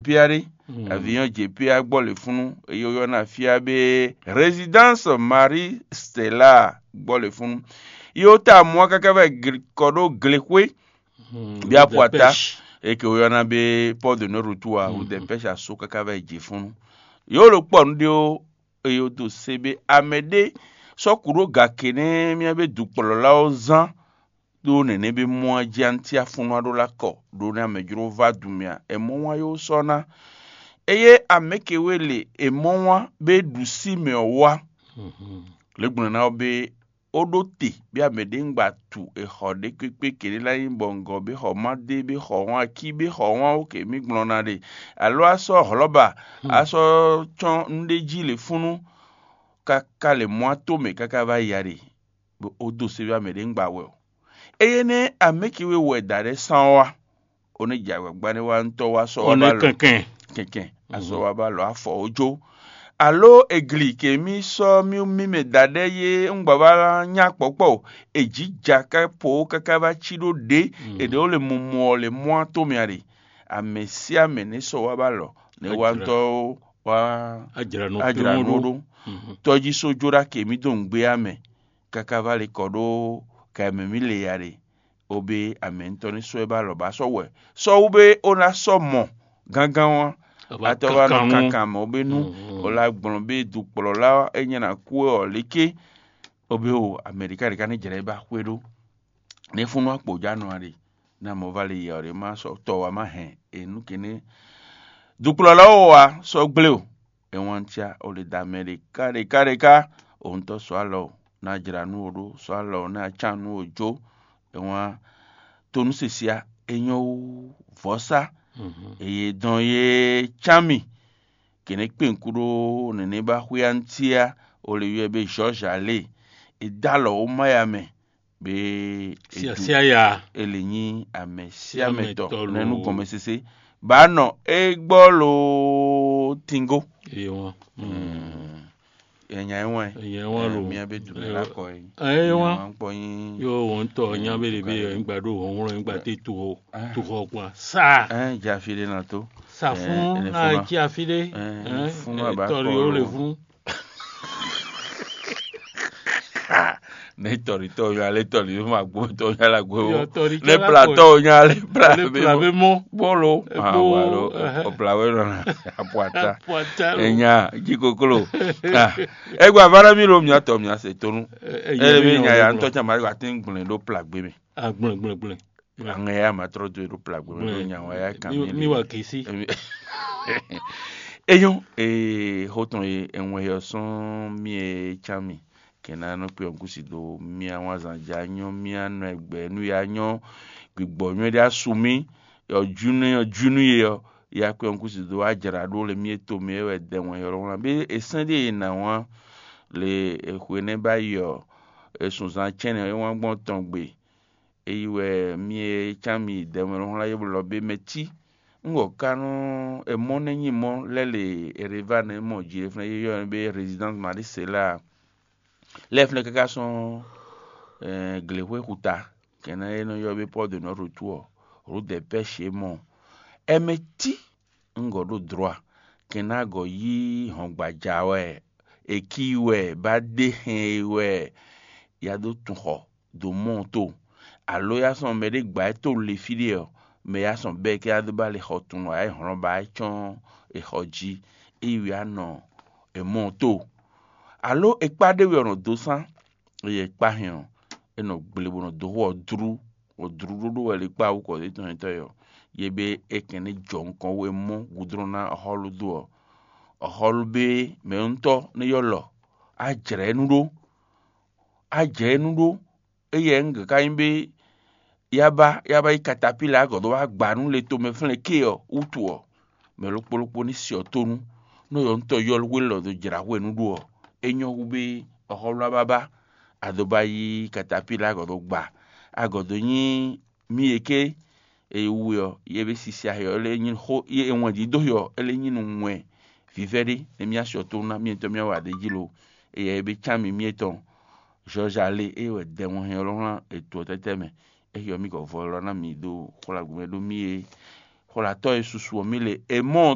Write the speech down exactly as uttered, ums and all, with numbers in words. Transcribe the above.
Piaré, avion Jepia gbɔ le funu, eye woyɔna fia be Résidence Marie Stella gbɔ le funu. Yo ta mɔ káká vɛ kɔ ɖo glexwé, bí apu ata, eke woyɔna be Port de Norutu a, wo dɛpɛsi aso káká vɛ jifunu. Yo lo kpɔ nu ɖe o, eye wo do se be amɛ ɖé sɔ́ kú ɖó gake nɛ́ mía be dukplɔ́lawo zán ɖó nɛnɛ bí mɔ jí antiafunu aɖó lá kɔ ɖó nɛ́ amɛ jló vá dun mì a? È mɔ wán yó sɔ́ ná. Eye amɛ̌ ke wé le è mɔ wán bé ɖu sí mɛ ɔ́ wá. Lě gbɔn ná ɔ́ bé ó ɖó te bí amɛ ɖě un gba tu è xɔ ɖé kpékpé kěɖé ná nyí bɔ ŋgɔ bé xɔ má dé bé xɔ wán akí bé xɔ wán ó kě mì gblɔn ná ɖe, alo a sɔ́ hlɔ̌ba a sɔ́ cɔ́n nú ɖé jí le fúnú káká le mɔ ato mɛ káká vá yi a ɖe, bó ó dó sé wá mɛ ɖě un gba wɛ o. Eye nɛ́ amɛ̌ ke wé wɛ dǎ ɖɛ́ sán ɔ́ wá, ó nɛ́ jɛ agbǎgbá nɛ́ wá ŋutɔ́ wá sɔ́ wá ba lɔ kɛnkɛn kɛnkɛn, azɔ wá ba lɔ afɔ ó jó. Alo egli ke mì sɔ́ mì mì mɛ dǎ ɖɛ́ yé un gba wá nyá kpɔ̌kpɔ o, è jǐ ja ká po káká vá cí ɖó ɖě è ɖě ó le mumɔ ɔ́ le mɔ ato mɛ a ɖe. Amɛ sín amɛ nɛ́ sɔ́ wá ba lɔ nɛ́ wá ŋutɔ́ wá ajra nú ajra nú ɖó. Tɔ́jísó jó ɖó akɛ mì dó nǔgbé amɛ káká vá le kɔ ɖó ka e mɛ mì le ya ɖe, ó bé amɛ ŋutɔ́ ní sɔ́ ɛ bá lɔ bá sɔ́ wɛ. Sɔ́ wú bé ó ná sɔ́ mɔ gángan wá, atɔ́ wá nɔ kankan mɛ ó bé nú ó lá gblɔn bé dukplɔ́la é nyɛ ná kú ɔ́ léké, ó bé o Amɛɖiká ɖě ká ní jlɛ̌ ba xwé ɖó. Ní fúnú akpǒjánɔ a ɖe, ní amɔ̌ va le yɛ ɔ́ ɖě má sɔ́ tɔ wá má hɛn è nǔ kéné. Dukplɔ́la ó wa sɔ́ gblé o, é wán cia ó le da mɛ ɖe ká ɖe ká ɖe ká, òun tɔ́ sɔ́ alɔ ná jra nú o ɖó, sɔ́ alɔ ná can nú o jó, é wán tonúsisia é nyɔ́ wú vɔ̌sá. Eye dɔn yé cán mì kěnɛ́ kpɛ́nkú ɖó nɛnɛ́ ba xwé antíá, ó le ywɛ́ bé George alé, é dó alɔ wó má ya mɛ. Be siasia ya. Ele nyi amɛ siamɛtɔ nɛnu gɔmɛsese ba nɔ egbɔ lo tingo. Ewa. Enya ewa. Enya ewa lo. Mia be dumɛ la kɔ yi. Ewa. Kpɔ yin. Yo wɔn tɔ nya be de be yin gba do wɔn wɔn yin gba te tu hɔ tu hɔ kpa sa. Ɛn jafi de na to. Sa fún na jafi de. Fún ma ba kɔ lo. Ne tɔlitɔ yɔ ale tɔli ma gbɔ tɔ yɔ la gbɔ. Ne platɔ yɔ ale pla be mɔ bɔlo. Ɔpla wɛ nɔ na apuata. Enya ji koklo. Egbe avara mi lo miatɔ mia se tonu. Ele be nya ya ŋutɔ tsa ma wa ti gblẽ ɖo pla gbe mi. Agblẽ gblẽ gblẽ. Aŋɛ ya ma trɔ do ɖo pla gbe mi ɖo nya wa ya kan mi. Mi wa kisi. Enyɔ ee xotɔn ye enwɛ yɔ sɔn mi e can mi. Kɛ́n ná nɔ kpé ɔ́ gúsi dó mía wán zan já nyɔ́ mía nɔ ẹgbẹ́ nú ya nyɔ́ gbigbɔ nyɔ́ ɖé asu mì. Ɔjúnú ɔjúnú ye ɔ́ ya kpé ɔ́ gúsi dó ajra ɖó le mí e to mɛ wɛ dɛ wɛn yɔ́ wlán bé è sɛ́n ɖé e nǎ wán le. Xwe nɛ́ ba yi ɔ́, è sun zan cɛ́nɛ é wán gbɔn tɔn gbe. É yi wɛ mí e cán mi dɛ wɛn wlán é blɔ bé mɛ cí. Un wɔ ka nú è mɔ nɛ́ nyi mɔ lɛ́ le Erevá nɛ́ mɔ jí é flɛ́ yɔ́ ɛ bé Résidence Marie Céla. Lɛ́ flɛ́ káká sɔ́n glěxwé xuta kɛnɛ e nɔ ylɔ́ bé Port de Notre Tour ɔ́, Rue des Pêches é mɔ. Ɛmɛ cí un gɔ̌ ɖo dlɔ̌ a? Kɛnɛ a gɔ̌ yí hɔngbaja wɛ, è ki wɛ, bá ɖe hɛn e wɛ ya dó tun xɔ dó mɔ to, alo ya sɔn mɛ ɖé gba ɛ to le fí ɖé ɔ́, mɛ ya sɔn bɛ́ kɛ ya dó ba le xɔ tun ɔ́, ya yi hlɔ́n ba yi cɔ́n è xɔ jí, é yi wɛ ya nɔ è mɔ to. Alo è kpá ɖé wɛ ɔ́ nɔ dó sán, eye è kpá hɛn ɔ́, é nɔ gble bó nɔ dó xó ɔ́ dlú, bɔ dlú ɖóɖó wɛ le kpá wú kɔ ɖé tɔn nyitɔ́ ɔ́, ye bé é kɛn ní jɔ nukɔn wú é mɔ gǔdrɔ́n ná ɔ́xɔ́lú dó ɔ́, ɔ́xɔ́lú bé mɛ̌ntɔ́ ní ylɔ́ lɔ, á jlɛ̌ nú ɖó, á jɛ nú ɖó, éyɛ́ un ka nyí bé yá ba yá ba yi katapíla gɔ̌ dó wá gba nú le tomɛ flɛ́n ké ɔ́ wútu ɔ́, mɛ ɖokpó ɖokpó ní si ɔ́ tónú, nú yɔ̌ntɔ́ yɔ́lú wé lɔ dó jlǎ hwenu ɖó ɔ́, é nyɔ́ hú bé ɔ́xɔ́lú bábá, a dó ba yí katapíla gɔ̌ dó gba, a gɔ̌ dó nyí mí e ké e wú ɔ́, yě be sisi axi ɔ́, é lé nyí xó, yě e wɛn dídó xi ɔ́, é lé nyí nú wɛn vívɛ́ ɖé, nɛ mía sɔ tó ná mí ŋutɔ́ mía wa ɖ'é jí lo. Eya e be cán mì mí etɔn, Zɔ́za lé, ée wɛ dɛ wɔn hɛn ɔ́ lɔ́ wlán ètò ɔ́ tɛ́tɛ́ mɛ. É xi ɔ́, mí gɔ̌ vɔ lɔ ná mì ɖó xwla gǔmɛ ɖó mí e xwlatɔ́ e susu ɔ́ mí le. È mɔ